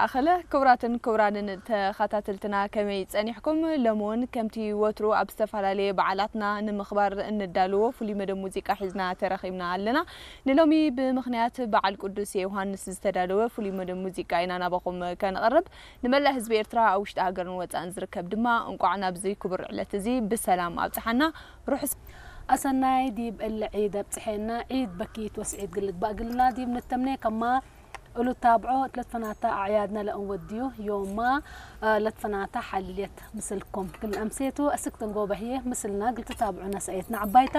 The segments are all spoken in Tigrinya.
ኣኸለ ክቡራትን ክቡራንን ተኸታተልትና ከመይ ጸኒሕኩም? ሎሚ እውን ከምቲ ወትሩ ኣብ ዝተፈላለየ በዓላትና ንምኽባር እንዳለዎ ፍሉይ መደብ ሙዚቃ ሒዝና ተረኺብና ኣለና። ንሎሚ ብምኽንያት በዓል ቅዱስ ዮሃንስ ዝተዳለወ ፍሉይ መደብ ሙዚቃ ኢና ናባኹም ከነቕርብ። ንመላእ ህዝቢ ኤርትራ ኣብ ውሽጢ ሃገርን ወጻእን ዝርከብ ድማ እንቋዕ ናብዚ ክቡር ዕለት እዚ ብሰላም ኣብጽሓና። ርሑስ ኣሰናይ ዲብ እለ ዒድ ኣብጽሐና። ዒድ በኪት ወስዒድ ግልግባእ ግልና ዲብ ንተምኔ ከማ እሉ ታብዖ እትለትፈናታ ኣዕያድና ለእንወድዩ ዮማ ለትፈናታ ሓልየት ምስልኩም ግል ኣምሴቱ ኣስክተን ጎበህየ ምስልና ግልቲ ታብዑና ሰኤትና ዓባይታ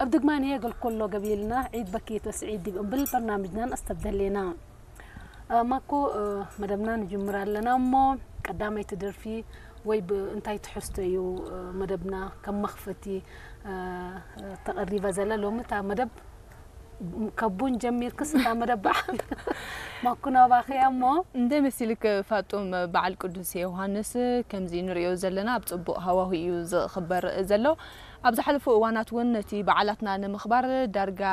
እብ ድግማንየ ግል ኩሎ ገቢልና ዒድ በኪት ወስዒድ ዲብ እምብል በርናምጅናን ኣስተብደሌና። ማኮ መደብና ንጅምር ኣለና እሞ ቀዳመይቲ ደርፊ ወይ እንታይ ትሕዝቶ እዩ መደብና ከም መኽፈቲ ተቐሪባ ዘላ ሎሚ እታ መደብ ከቡን ጀሚርክስ እታ መደብ በዓል ማኩ ናባኺ እያ እሞ። እንደ መሲልክ ፋጡም በዓል ቅዱስ ዮሃንስ ከምዚ ንሪኦ ዘለና ኣብ ጽቡቕ ሃዋሁ እዩ ዝኽበር ዘሎ። ኣብ ዝሓለፉ እዋናት እውን ነቲ በዓላትና ንምኽባር ዳርጋ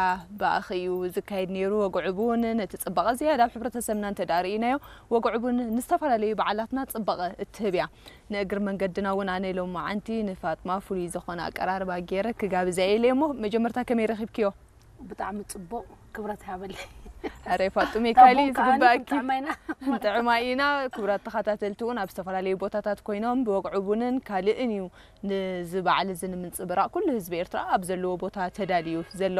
ብኣኺ እዩ ዝካየድ ነይሩ። ወግዕቡ እውን ነቲ ጽባቐ ዝያዳ ኣብ ሕብረተሰብና እንተ ደኣ ርኢናዮ፣ ወግዕቡ እውን ንዝተፈላለዩ በዓላትና ጽባቐ እትህብ እያ። ንእግር መንገድና እውን ኣነ ሎም መዓንቲ ንፋጥማ ፍሉይ ዝኾነ ኣቀራርባ ገይረ ክጋብዛ ኢለ እሞ መጀመርታ ከመይ ረኺብክዮ? ብጣዕሚ ጽቡቕ ክብረት ሃበለይ። ኣረ ፋጡሜ ካሊ ዝግባእኪ ጥዕማይና ንጥዕማ ኢና። ክቡራት ተኸታተልቲ እውን ኣብ ዝተፈላለዩ ቦታታት ኮይኖም ብወግዒ ቡንን ካልእን እዩ ንዚ በዓል እዚ ንምንጽብራቕ ኩሉ ህዝቢ ኤርትራ ኣብ ዘለዎ ቦታ ተዳልዩ ዘሎ።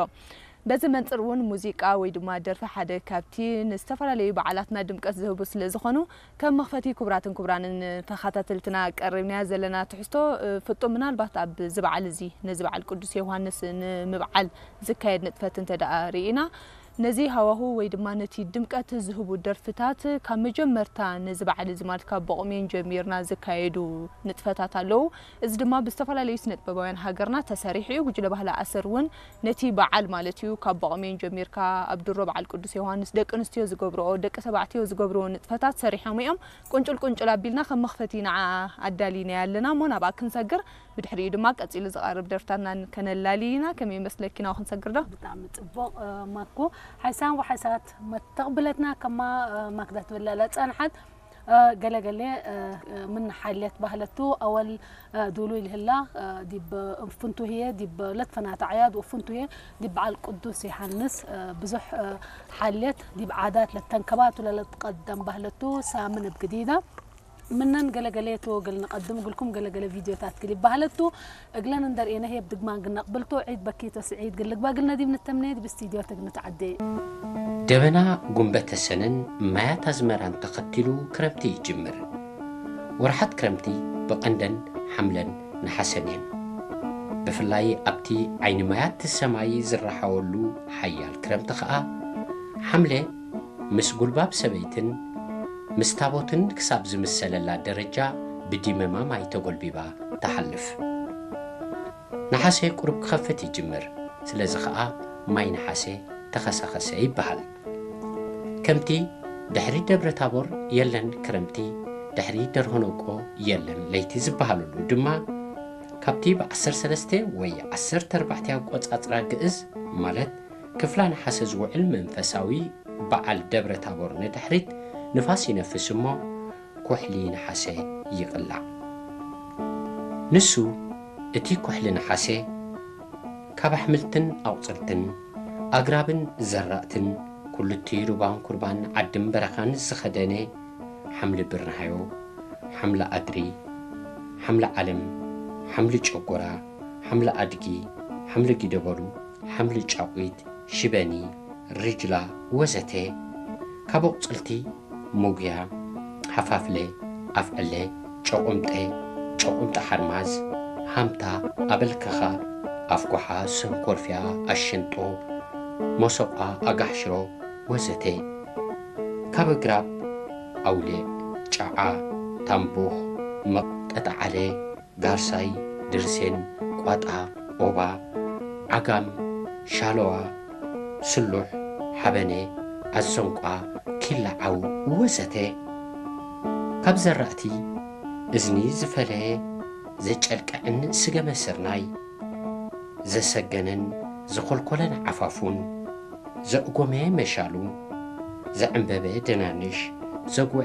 በዚ መንጽር እውን ሙዚቃ ወይ ድማ ደርፊ ሓደ ካብቲ ንዝተፈላለዩ በዓላትና ድምቀት ዝህቡ ስለ ዝኾኑ ከም መኽፈቲ ክቡራትን ክቡራንን ተኸታተልትና ቀሪብናያ ዘለና ትሕዝቶ ፍጡም ምናልባት ኣብዚ በዓል እዚ ነዚ በዓል ቅዱስ ዮሃንስ ንምብዓል ዝካየድ ንጥፈት እንተ ደኣ ርኢና ነዚ ሃዋሁ ወይ ድማ ነቲ ድምቀት ዝህቡ ደርፍታት ካብ መጀመርታ ነዚ በዓል እዚ ማለት ካብ ቦቕሜን ጀሚርና ዝካየዱ ንጥፈታት ኣለዉ። እዚ ድማ ብዝተፈላለዩ ስነ ጥበባውያን ሃገርና ተሰሪሑ እዩ። ጉጅለ ባህሊ ኣሰር እውን ነቲ በዓል ማለት እዩ ካብ ቦቕሜን ጀሚርካ ኣብ ድሮ በዓል ቅዱስ ዮሃንስ ደቂ ኣንስትዮ ዝገብርኦ ደቂ ተባዕትዮ ዝገብርዎ ንጥፈታት ሰሪሖም እዮም። ቁንጭል ቁንጭል ኣቢልና ከም መኽፈቲ ንዓ ኣዳሊና ኣለና እሞ ናብኣ ክንሰግር ብድሕሪኡ ድማ ቀጺሉ ዝቐርብ ደርፍታትና ከነላሊ ኢና። ከመይ ይመስለኪ ናብኡ ክንሰግር ዶ? ብጣዕሚ ጽቡቕ ማኮ ሓይሳን ወሓይሳት መተቕብለትና ከማ ማክዳ ትብላላ ጸንሓት ገለገለ ምን ሓልየት ባህለቱ ኣወል ዱሉ ይልህላ ዲብ ፍንቱህየ ዲብ ለትፈናት ኣዕያድ ፍንቱህየ ዲብ በዓል ቅዱስ ዮሃንስ ብዙሕ ሓልየት ዲብ ዓዳት ለተንከባቱ ለለትቀደም ባህለቱ ሳምን እብ ግዲዳ ምነን ገለገሌቱ ግል ንቐድም እግልኩም ገለገለ ቪድዮታት ግል ይባህለቱ እግለን እንደርእየነ ህየብ ድግማን ግነቕብልቶ ዒድ በኪቶ ስዒድ ግል ልግባ ግል ነዲብ ንተምነየድ ብስቱድዮ ትግምት ዓዴ። ደበና ጉንበተ ሰነን ማያት ኣዝመራን ተኸቲሉ ክረምቲ ይጅምር። ወርሓት ክረምቲ ብቐንደን ሓምለን ነሓሰን እየን። ብፍላይ ኣብቲ ዓይኒ ማያት ሰማይ ዝረሓወሉ ሓያል ክረምቲ ኸኣ ሓምለ ምስ ጉልባብ ሰበይትን ምስ ታቦትን ክሳብ ዝምሰለላ ደረጃ ብዲመማ ማይ ተጎልቢባ ትሓልፍ። ነሓሰ ቁሩብ ክኸፍት ይጅምር። ስለዚ ኸኣ ማይ ነሓሰ ተኸሰኸሰ ይበሃል። ከምቲ ድሕሪ ደብረ ታቦር የለን ክረምቲ፣ ድሕሪ ደርሆ ነቆ የለን ለይቲ ዝበሃለሉ ድማ ካብቲ ብ ዓሰርተ ሰለስተ ወይ ዓሰርተ ኣርባዕተ ኣቆጻጽራ ግእዝ ማለት ክፍላ ነሓሰ ዝውዕል መንፈሳዊ በዓል ደብረ ታቦር ንድሕሪት ንፋስ ይነፍስ እሞ ኩሕሊ ነሓሰ ይቕላዕ። ንሱ እቲ ኩሕሊ ነሓሰ ካብ ኣሕምልትን ኣቑጽልትን ኣግራብን ዘራእትን ኩሉቲ ሩባን ኩርባን ዓድን በረኻን ዝኸደነ ሓምሊ ብርንሃዮ፣ ሓምሊ ኣድሪ፣ ሓምሊ ዓለም፣ ሓምሊ ጨጎራ፣ ሓምሊ ኣድጊ፣ ሓምሊ ጊደበሉ፣ ሓምሊ ጫቑት፣ ሽበኒ፣ ሪጅላ ወዘተ ካብ ኣቑጽልቲ ሙግያ፣ ሓፋፍለ፣ ኣፍዕለ፣ ጨቑምጠ፣ ጨቑምጠ ሓርማዝ፣ ሃምታ፣ ኣበልከኻ፣ ኣፍጎሓ፣ ሰንኮርፊያ፣ ኣሸንጦ፣ መሶቋ፣ ኣጋሕሽሮ ወዘተ ካብ ኣግራብ ኣውሊዕ፣ ጫዓ፣ ታምቡኽ፣ መቕ፣ ጠጠዓለ፣ ጋርሳይ፣ ድርሴን፣ ቋጣ፣ ኦባ፣ ዓጋም፣ ሻለዋ፣ ስሉሕ፣ ሓበነ፣ ኣዘንቋ፣ ኪላ ዓው ወዘተ ካብ ዘራእቲ እዝኒ ዝፈለየ ዘጨልቀዐን ስገመ ስርናይ ዘሰገነን ዘኾልኮለን ዓፋፉን ዘእጎመ መሻሉ ዘዕንበበ ደናንሽ ዘጉዐ